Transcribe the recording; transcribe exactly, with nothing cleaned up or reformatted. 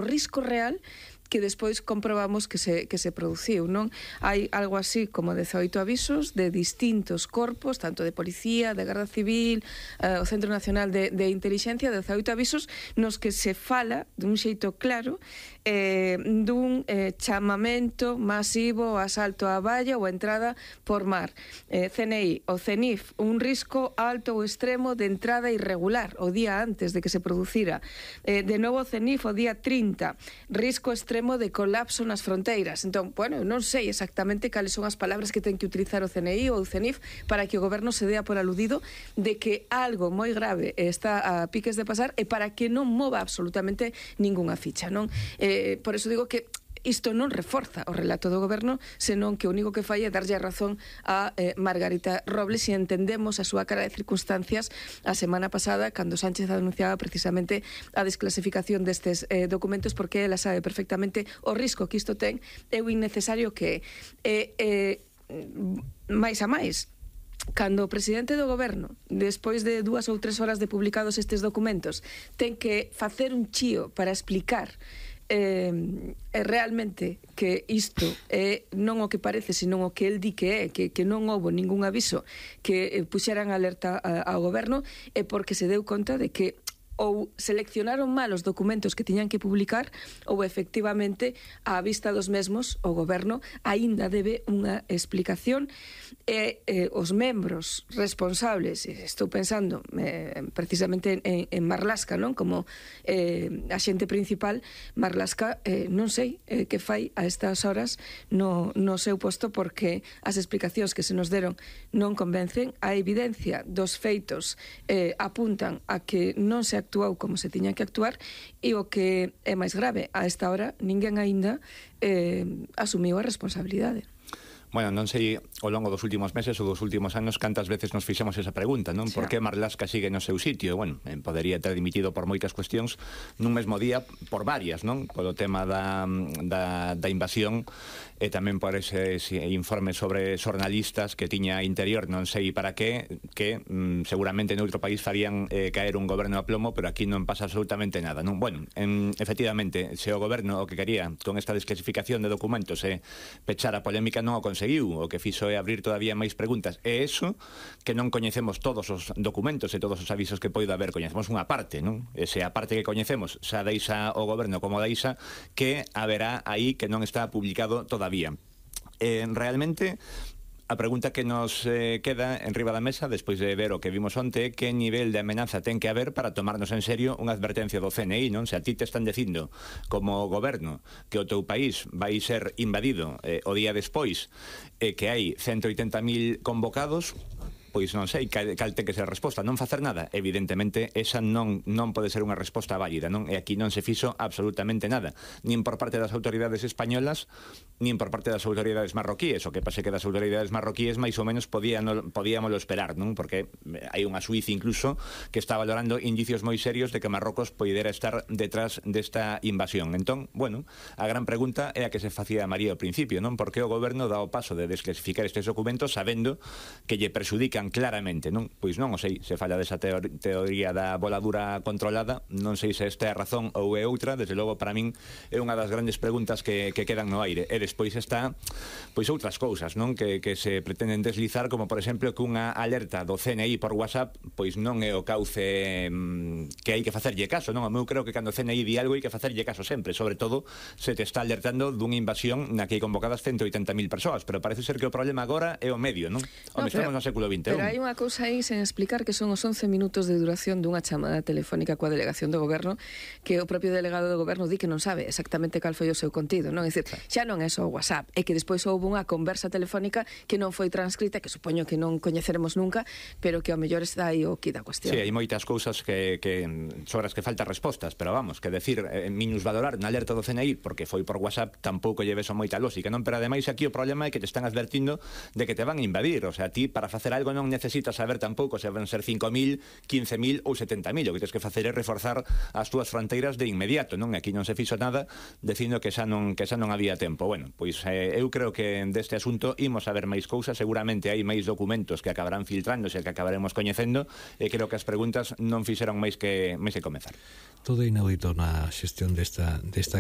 risco real que despois comprobamos que se, que se produciu, non? Hai algo así como dezaoito avisos de distintos corpos, tanto de policía, de Garda Civil, eh, o Centro Nacional de, de Intelixencia, dezaoito avisos nos que se fala dun xeito claro eh, dun eh, chamamento masivo, asalto á valla ou a entrada por mar. Eh, C N I, o CENIF, un risco alto ou extremo de entrada irregular o día antes de que se producira. Eh, de novo o CENIF o día trinta, risco extremo de colapso nas fronteiras. Entón, bueno, non sei exactamente cales son as palabras que ten que utilizar o C N I ou o CENIF para que o goberno se dea por aludido de que algo moi grave está a piques de pasar e para que non mova absolutamente ningunha ficha, non? Eh, por eso digo que isto non reforza o relato do goberno, senón que o único que fai é darlle a razón a eh, Margarita Robles, e entendemos a súa cara de circunstancias a semana pasada, cando Sánchez anunciaba precisamente a desclasificación destes eh, documentos, porque ela sabe perfectamente o risco que isto ten e o innecesario que é. Eh, eh, máis a máis, cando o presidente do goberno, despois de dúas ou tres horas de publicados estes documentos, ten que facer un chío para explicar Eh, é realmente que isto é non o que parece, senón o que el di que é, que, que non houbo ningún aviso que eh, puxeran alerta a, ao goberno, é porque se deu conta de que ou seleccionaron mal os documentos que tiñan que publicar ou efectivamente á vista dos mesmos o goberno aínda debe unha explicación e eh, os membros responsables, estou pensando eh, precisamente en, en Marlaska, non? Como eh, axente principal, Marlaska eh, non sei eh, que fai a estas horas no, no seu posto, porque as explicacións que se nos deron non convencen. A evidencia dos feitos eh, apuntan a que non se actuou como se tiña que actuar, e o que é máis grave, a esta hora ninguén aínda eh, asumiu a responsabilidade. Bueno, non sei ao longo dos últimos meses ou dos últimos anos cantas veces nos fixemos esa pregunta, non? Por que Marlaska sigue no seu sitio? Bueno, podería ter dimitido por moitas cuestións nun mesmo día, por varias, non? Polo tema da, da, da invasión e tamén por ese, ese informe sobre xornalistas que tiña Interior, non sei para que, que mm, seguramente noutro país farían eh, caer un goberno a plomo, pero aquí non pasa absolutamente nada, non? Bueno, en, efectivamente, se o goberno o que quería con esta desclasificación de documentos e eh, pechar a polémica non o conseguiu, o que fixo é abrir todavía máis preguntas, e eso que non coñecemos todos os documentos e todos os avisos que poida haber, coñecemos unha parte, non? Ese a parte que coñecemos xa deixa o goberno como deixa, que haberá aí que non está publicado todavía. Eh, realmente a pregunta que nos eh, queda en riba da mesa, despois de ver o que vimos onte, que nivel de amenaza ten que haber para tomarnos en serio unha advertencia do C N I, non? Se a ti te están dicindo como goberno que o teu país vai ser invadido eh, o día despois, e eh, que hai ciento oitenta mil convocados, pois non sei cal, cal ten que ser a resposta. Non facer nada, evidentemente esa non non pode ser unha resposta válida, non? E aquí non se fixo absolutamente nada, nin por parte das autoridades españolas, nin por parte das autoridades marroquíes. O que pase que das autoridades marroquíes máis ou menos podían, podíamolo esperar, non? Porque hai unha Suiza incluso que está valorando indicios moi serios de que Marrocos poidera estar detrás desta invasión. Entón, bueno, a gran pregunta é a que se facía María ao principio, non? Por que o goberno dá o paso de desclasificar estes documentos sabendo que lle perxudica claramente, non? Pois non o sei, se falla desa teoría da voladura controlada, non sei se esta é a razón ou é outra. Desde logo, para min é unha das grandes preguntas que, que quedan no aire. E despois está, pois outras cousas, non? Que, que se pretenden deslizar, como por exemplo que unha alerta do C N I por WhatsApp pois non é o cauce mmm, que hai que facerlle caso, non? Eu creo que cando o C N I di algo hai que facerlle caso sempre, sobre todo se te está alertando dunha invasión na que hai convocadas ciento oitenta mil persoas, pero parece ser que o problema agora é o medio, non? No, Home, estamos no século vinte e un. Pero hai unha cousa aí sen explicar, que son os once minutos de duración dunha chamada telefónica coa delegación do goberno, que o propio delegado do goberno di que non sabe exactamente cal foi o seu contido, non? É dicir, xa non é só o WhatsApp, é que despois houve unha conversa telefónica que non foi transcrita, que supoño que non coñeceremos nunca, pero que ao mellor está aí o que da cuestión. Sí, hai moitas cousas que, que sobre as que faltan respostas, pero vamos, que decir, eh, minusvalorar unha alerta do C N I porque foi por WhatsApp tampouco lleves a moita lógica, non? Pero ademais aquí o problema é que te están advertindo de que te van a invadir, o sea, ti para facer algo non non necesitas saber tampouco se van ser cinco mil, quince mil ou setenta mil. O que tens que facer é reforzar as túas fronteiras de inmediato, non? Aquí non se fixo nada dicindo que xa non que xa non había tempo. Bueno, pois eh, eu creo que deste asunto imos a ver máis cousas, seguramente hai máis documentos que acabarán filtrándose, que acabaremos coñecendo, e creo que as preguntas non fixeron máis que máis que comezar. Todo inaudito na xestión desta desta